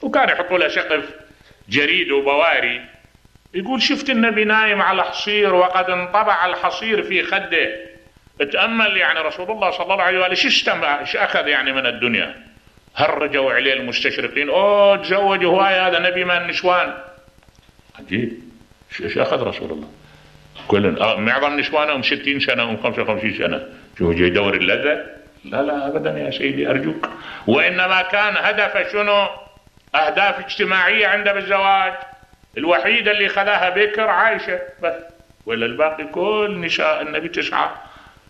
وكان يحطوا له سقف جريد وبواري. يقول شفت النبي نايم على حصير وقد انطبع الحصير في خده. اتأمل يعني رسول الله صلى الله عليه وآله ايش اخذ يعني من الدنيا. هرجوا عليه المستشرقين، تزوج هواي هذا نبي من النسوان. عجيب، ايش اخذ رسول الله؟ كل معظم نسوانهم 60 سنة و 55 سنة، شو جاي يدور اللذة؟ لا ابدا يا سيدي ارجوك. وانما كان هدفه شنو؟ اهداف اجتماعية عنده بالزواج. الوحيدة اللي خذاها بكر عائشة بس، ولا الباقي كل نساء النبي 9.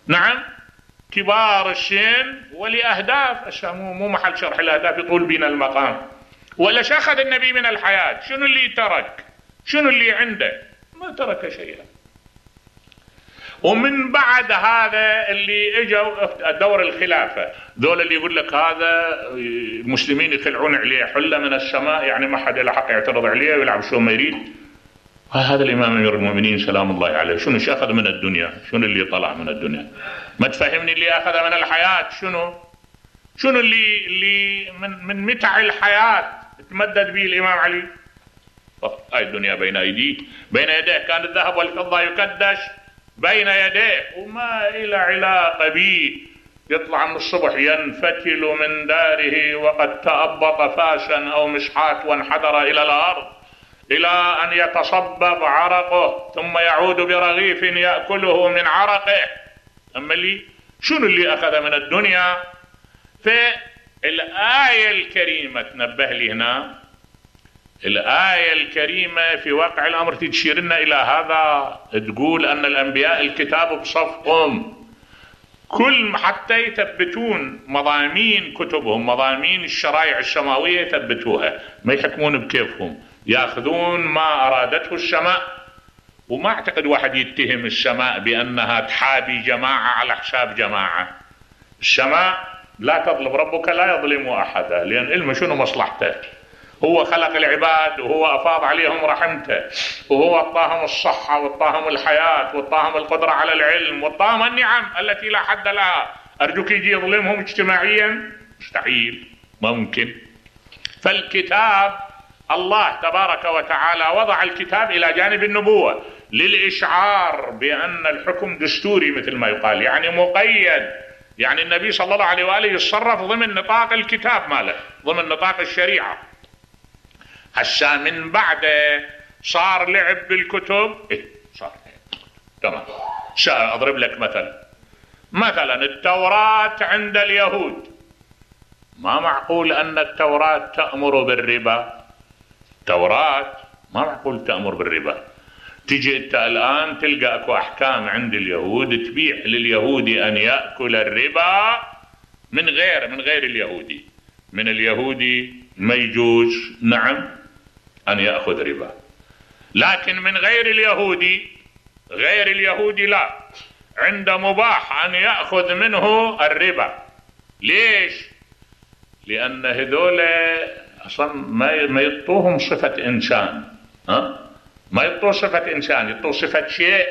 نعم، كبار السن ولأهداف. مو محل شرح الأهداف، يطول بنا المقام. ولا أخذ النبي من الحياة؟ شنو اللي ترك؟ شنو اللي عنده؟ ما ترك شيئا. ومن بعد هذا اللي اجوا دور الخلافة، ذول اللي يقول لك هذا المسلمين يخلعون عليه حلة من السماء، يعني ما حد له حق يعترض عليه ويلعب شو ما يريد. هذا الإمام أمير المؤمنين سلام الله عليه شنو أخذ من الدنيا؟ شنو اللي طلع من الدنيا؟ ما تفهمني اللي أخذ من الحياة شنو اللي من متع الحياة تمدد به الإمام علي. هاي الدنيا بين يديه كان الذهب والفضة يكدش بين يديه وما إلى علاقة به. يطلع من الصبح ينفتل من داره وقد تأبط فاشا أو مشحات وانحدر إلى الأرض إلى أن يتصبب عرقه ثم يعود برغيف يأكله من عرقه. أما شنو اللي أخذ من الدنيا؟ فالآية الكريمة تنبه لي هنا، الآية الكريمة في واقع الأمر تشير لنا إلى هذا، تقول أن الأنبياء الكتاب بصفهم كل حتى يثبتون مضامين كتبهم، مضامين الشرائع السماوية يثبتوها، ما يحكمون بكيفهم، يأخذون ما أرادته السماء. وما أعتقد واحد يتهم السماء بأنها تحابي جماعة على حساب جماعة. السماء لا تظلم، ربك لا يظلم أحدا، لأن علمه شنو مصلحته. هو خلق العباد وهو أفاض عليهم رحمته، وهو أعطاهم الصحة وأعطاهم الحياة وأعطاهم القدرة على العلم وأعطاهم النعم التي لا حد لها. أرجوك يجي يظلمهم اجتماعيا؟ مستحيل، ممكن. فالكتاب الله تبارك وتعالى وضع الكتاب إلى جانب النبوة للإشعار بأن الحكم دستوري مثل ما يقال، يعني مقيد، يعني النبي صلى الله عليه وآله يتصرف ضمن نطاق الكتاب ماله، ضمن نطاق الشريعة. هسا من بعده صار لعب بالكتب. صار تمام. أضرب لك مثلا التوراة عند اليهود، ما معقول أن التوراة تأمر بالربا. التوراة ما معقول تأمر بالربا. تجي أنت الآن تلقى أكو أحكام عند اليهود تبيح لليهودي أن يأكل الربا من غير اليهودي. من اليهودي ما يجوز نعم أن يأخذ ربا، لكن من غير اليهودي لا، عند مباح أن يأخذ منه الربا. ليش؟ لأن هذول أصلا ما يطوهم صفة إنسان، ما يطوه صفة إنسان، يطوه صفة شيء.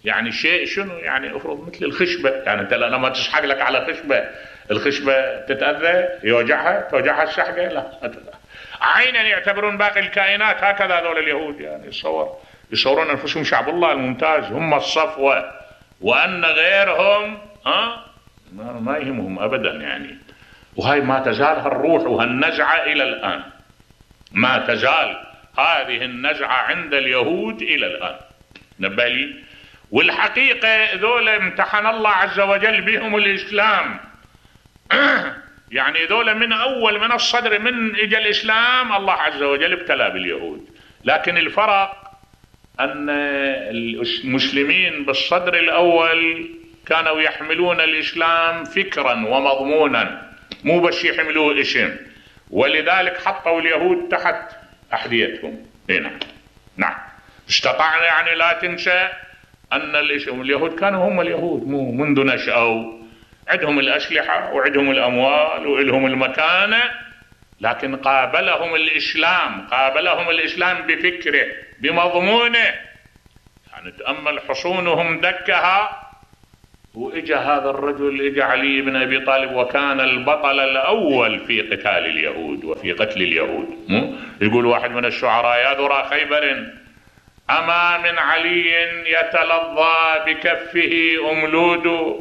يعني شيء شنو؟ يعني أفرض مثل الخشبة، يعني أنت لما تسحق لك على الخشبة تتأذى، توجعها السحقة؟ لا. عينا يعتبرون باقي الكائنات هكذا هذول اليهود، يعني يصورون أنفسهم شعب الله الممتاز، هم الصفوة، وأن غيرهم ما يهمهم أبدا يعني. وهي ما تزال هالروح وهالنزعة إلى الآن، ما تزال هذه النزعة عند اليهود إلى الآن. نبالي. والحقيقة ذول امتحن الله عز وجل بهم الإسلام. يعني ذول من أول من الصدر من إجا الإسلام الله عز وجل ابتلى باليهود. لكن الفرق أن المسلمين بالصدر الأول كانوا يحملون الإسلام فكرا ومضمونا، مو بس يحملوه اسم، ولذلك حطوا اليهود تحت أحذيتهم. نعم. استطعنا يعني لا تنسى أن اليهود كانوا هم اليهود منذ نشأوا، عندهم الأسلحة وعندهم الأموال وعندهم المكانة، لكن قابلهم الإسلام بفكره بمضمونه. يعني تأمل حصونهم دكها واجا هذا الرجل، اجا علي بن ابي طالب وكان البطل الاول في قتال اليهود وفي قتل اليهود. يقول واحد من الشعراء: يا ذرى خيبر اما من علي يتلظى بكفه املود،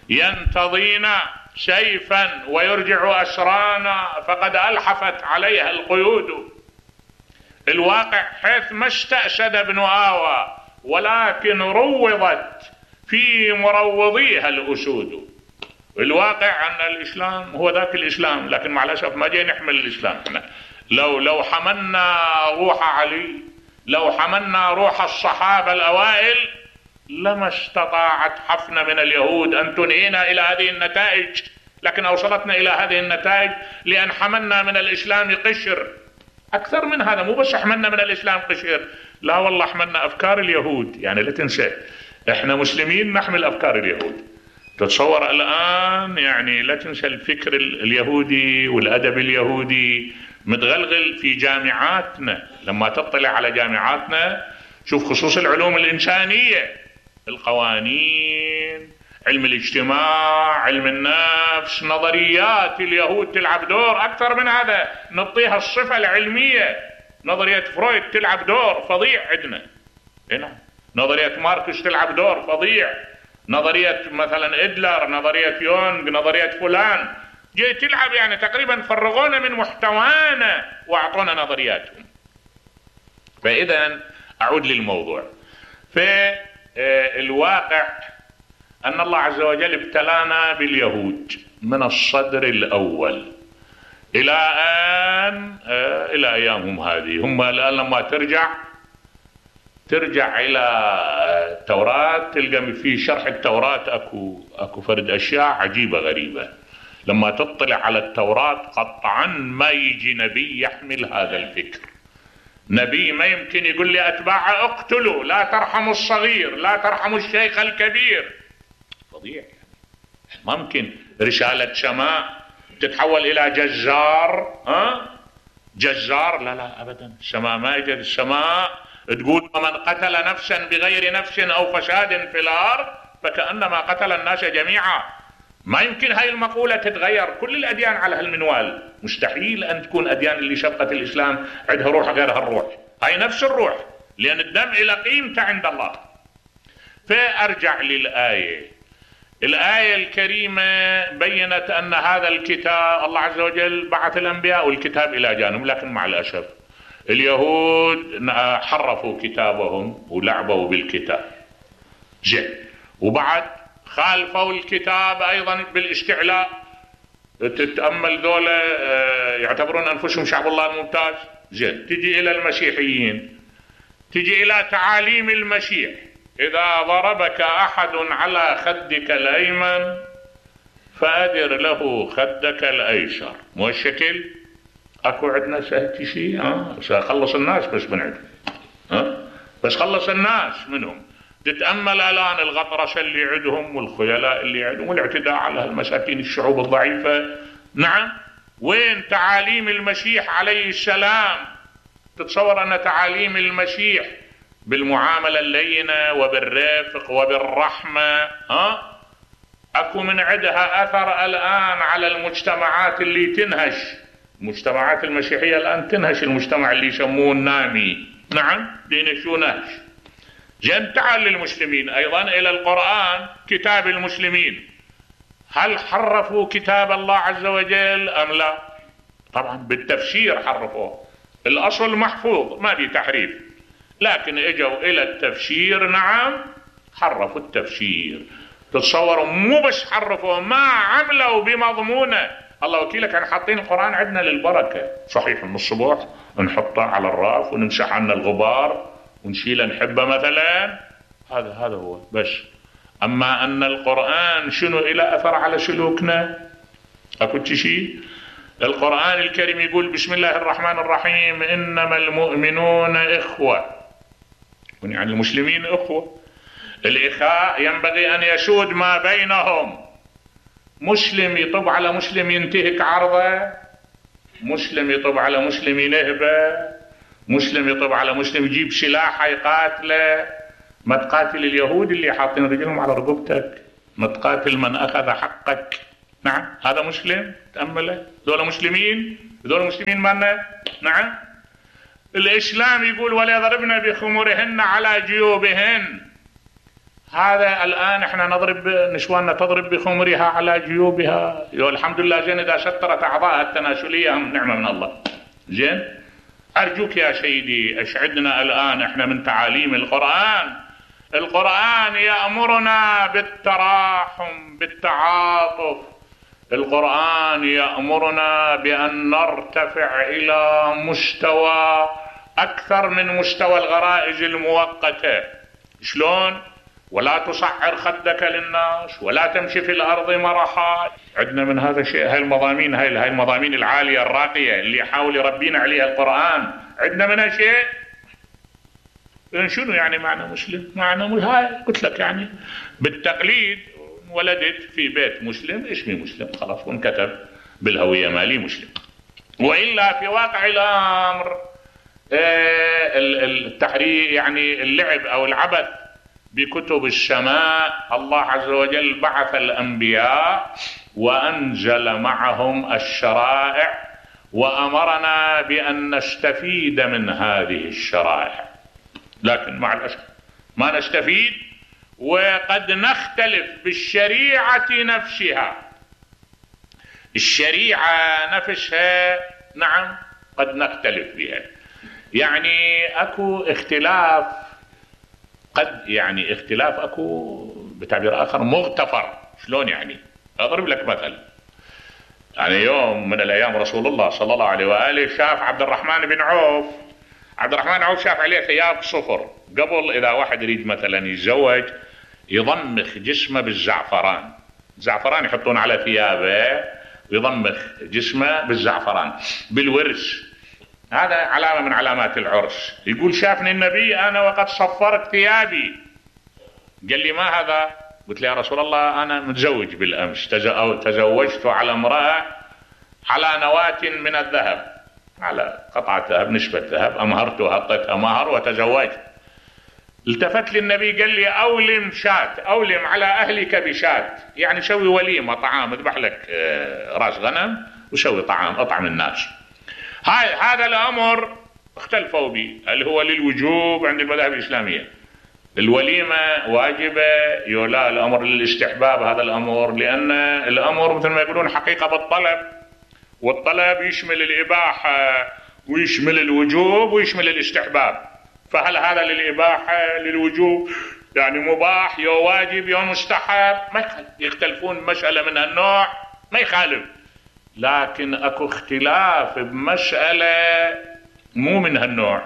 ينتضينا سيفا ويرجع اسرانا فقد الحفت عليها القيود. الواقع حيث ما استأسد ابن آوى ولكن روضت في مروضيها الأسود. الواقع أن الإسلام هو ذاك الإسلام، لكن مع الأسف ما جاي نحمل الإسلام احنا. لو حملنا روح علي، لو حملنا روح الصحابة الأوائل، لما استطاعت حفنة من اليهود أن تنهينا إلى هذه النتائج، لكن أوصلتنا إلى هذه النتائج لأن حملنا من الإسلام قشر. أكثر من هذا، مو بس حملنا من الإسلام قشر، لا والله حملنا أفكار اليهود. يعني لا تنسى إحنا مسلمين نحمل أفكار اليهود. تتصور الآن يعني لا تنسى الفكر اليهودي والأدب اليهودي متغلغل في جامعاتنا. لما تطلع على جامعاتنا شوف خصوص العلوم الإنسانية، القوانين، علم الاجتماع، علم النفس، نظريات اليهود تلعب دور أكثر من هذا. نعطيها الصفة العلمية. نظرية فرويد تلعب دور فظيع عندنا هنا، نظرية ماركس تلعب دور فظيع، نظرية مثلا إدلر، نظرية يونغ، نظرية فلان جاي تلعب. يعني تقريبا فرغونا من محتوانا وأعطونا نظرياتهم. فإذا أعود للموضوع. في الواقع أن الله عز وجل ابتلانا باليهود من الصدر الأول إلى أن إلى أيامهم هذه. هم الآن لما ترجع إلى التوراة تلقى في شرح التوراة أكو فرد أشياء عجيبة غريبة. لما تطلع على التوراة قطعا ما يجي نبي يحمل هذا الفكر. نبي ما يمكن يقول لي أتباعه اقتلوا، لا ترحموا الصغير، لا ترحموا الشيخ الكبير. فظيع يعني. ما ممكن رسالة سماء تتحول إلى جزار. جزار، لا لا أبدا. السماء ما يجد. السماء تقول: ومن قتل نفسا بغير نفس أو فساد في الأرض فكأنما قتل الناس جميعا. ما يمكن هاي المقولة تتغير. كل الأديان على هالمنوال. مستحيل أن تكون أديان اللي شبقت الإسلام عندها روح غير هالروح. هاي نفس الروح، لأن الدم إلى قيمته عند الله. فأرجع للآية. الآية الكريمة بيّنت أن هذا الكتاب الله عز وجل بعث الأنبياء والكتاب إلى جانب، لكن مع الأسف اليهود حرفوا كتابهم ولعبوا بالكتاب. زين. وبعد خالفوا الكتاب أيضا بالاستعلاء. تتأمل ذولا يعتبرون أنفسهم شعب الله الممتاز. زين. تجي إلى المسيحيين، تجي إلى تعاليم المسيح: إذا ضربك أحد على خدك الأيمن فأدر له خدك الأيسر. مو الشكل؟ أكو عندنا سهل شيء سأخلص الناس بس من عندهم. بس خلص الناس منهم. تتأمل الآن الغطرسة اللي عندهم والخيلاء اللي عندهم والاعتداء على المساكين الشعوب الضعيفة. نعم. وين تعاليم المسيح عليه السلام؟ تتصور أن تعاليم المسيح بالمعاملة اللينة وبالرفق وبالرحمة أكو من عندها أثر الآن على المجتمعات اللي تنهش. المجتمعات المسيحية الآن تنهش المجتمع اللي يسموه النامي. نعم. دينشو نهش. جن. تعال للمسلمين أيضا إلى القرآن، كتاب المسلمين. هل حرفوا كتاب الله عز وجل أم لا؟ طبعا بالتفسير حرفوه. الأصل محفوظ ما بي تحريف، لكن اجوا إلى التفسير. نعم. حرفوا التفسير. تتصوروا مو بس حرفوا، ما عملوا بمضمونه. الله وكيلك كان حاطين القرآن عندنا للبركة. صحيح من الصبح نحطه على الراف ونمسح عنا الغبار ونشيله نحبه مثلا، هذا هو بس. أما أن القرآن شنو إلى أثر على سلوكنا أكو شيء. القرآن الكريم يقول: بسم الله الرحمن الرحيم، إنما المؤمنون إخوة. يعني المسلمين إخوة. الإخاء ينبغي أن يسود ما بينهم. مسلم يطب على مسلم ينتهك عرضه، مسلم يطب على مسلم ينهبه، مسلم يطب على مسلم يجيب سلاح يقاتله. ما تقاتل اليهود اللي حاطين رجلهم على رقبتك. متقاتل من أخذ حقك. نعم هذا مسلم؟ تأمله ذولا مسلمين، ذولا مسلمين مالنا. نعم الإسلام يقول وليضربن بخمرهن على جيوبهن. هذا الآن احنا نضرب نسواننا تضرب بخمرها على جيوبها. الحمد لله زين إذا سترت أعضائها التناسلية نعمة من الله. زين أرجوك يا سيدي اشعدنا الآن احنا من تعاليم القرآن. القرآن يأمرنا بالتراحم بالتعاطف. القرآن يأمرنا بأن نرتفع إلى مستوى أكثر من مستوى الغرائز المؤقتة. شلون؟ ولا تصعر خدك للناس ولا تمشي في الأرض مرحا. عندنا من هذا الشيء. هاي المضامين هاي المضامين العالية الراقية اللي يحاول يربينا عليها القرآن عندنا منها شيء. شنو يعني معنى مسلم؟ معنى هاي قلت لك يعني بالتقليد ولدت في بيت مسلم اسمي مسلم خلاص وانكتب بالهوية مالي مسلم. وإلا في واقع الأمر التحرير يعني اللعب أو العبث بكتب السماء. الله عز وجل بعث الأنبياء وأنزل معهم الشرائع وأمرنا بأن نستفيد من هذه الشرائع، لكن مع الأسف ما نستفيد وقد نختلف بالشريعة نفسها. الشريعة نفسها نعم قد نختلف بها. يعني اكو اختلاف قد يعني اختلاف اكو بتعبير اخر مغتفر. شلون يعني؟ اضرب لك مثل. يعني يوم من الايام رسول الله صلى الله عليه واله شاف عبد الرحمن بن عوف. عبد الرحمن بن عوف شاف عليه ثياب صفر. قبل اذا واحد يريد مثلا يتزوج يضمخ جسمه بالزعفران. زعفران يحطون على ثيابه ويضمخ جسمه بالزعفران بالورس. هذا علامة من علامات العرس. يقول شافني النبي أنا وقد صفرت ثيابي. قال لي ما هذا؟ قلت له يا رسول الله أنا متزوج بالأمس تزوجت على امرأة على نواة من الذهب، على قطعة ذهب نسبة ذهب أمهرت وحطيتها مهر وتزوجت. التفت لي النبي قال لي أولم شات، أولم على أهلك بشات، يعني سوي وليمة طعام اذبح لك راس غنم وسوي طعام اطعم الناس. هذا الأمر اختلفوا به اللي هو للوجوب عند المذاهب الإسلامية. الوليمة واجبة يولا الأمر للاستحباب هذا الأمر، لأن الأمر مثل ما يقولون حقيقة بالطلب، والطلب يشمل الإباحة ويشمل الوجوب ويشمل الاستحباب. فهل هذا للإباحة للوجوب يعني مباح يو واجب يو مستحب؟ ما يخالف. يختلفون مسألة من هالنوع ما يخالف، لكن اكو اختلاف بمسألة مو من هالنوع.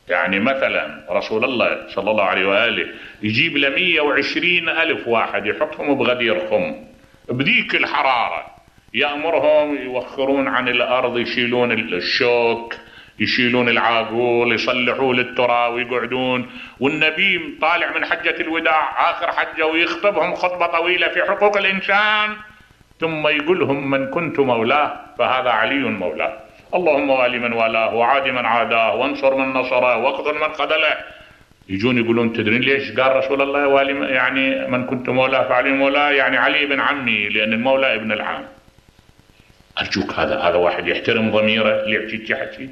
يعني مثلا رسول الله صلى الله عليه وآله يجيب ل 120,000 واحد يحطهم بغدير خم بذيك الحرارة، يأمرهم يوخرون عن الأرض يشيلون الشوك يشيلون العاقول يصلحوا للترى ويقعدون، والنبي طالع من حجة الوداع آخر حجة ويخطبهم خطبة طويلة في حقوق الإنسان، ثم يقولهم من كنت مولاه فهذا علي مولاه، اللهم والي من والاه وعادي من عاداه وانصر من نصره واقتل من قتله. يجون يقولون تدرين ليش قال رسول الله والي يعني من كنت مولاه فعلي مولاه، يعني علي بن عمي لأن المولى ابن العام. أرجوك هذا واحد يحترم ضميره اللي يحكي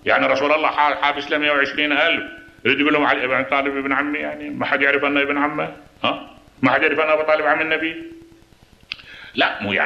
يعني رسول الله حابس له 120,000 يريد يقول لهم علي ابن طالب ابن عمي، يعني ما حد يعرف أنه ابن عمه؟ ما حد يعرف أنه أبو طالب عم النبي؟ لا مو يعني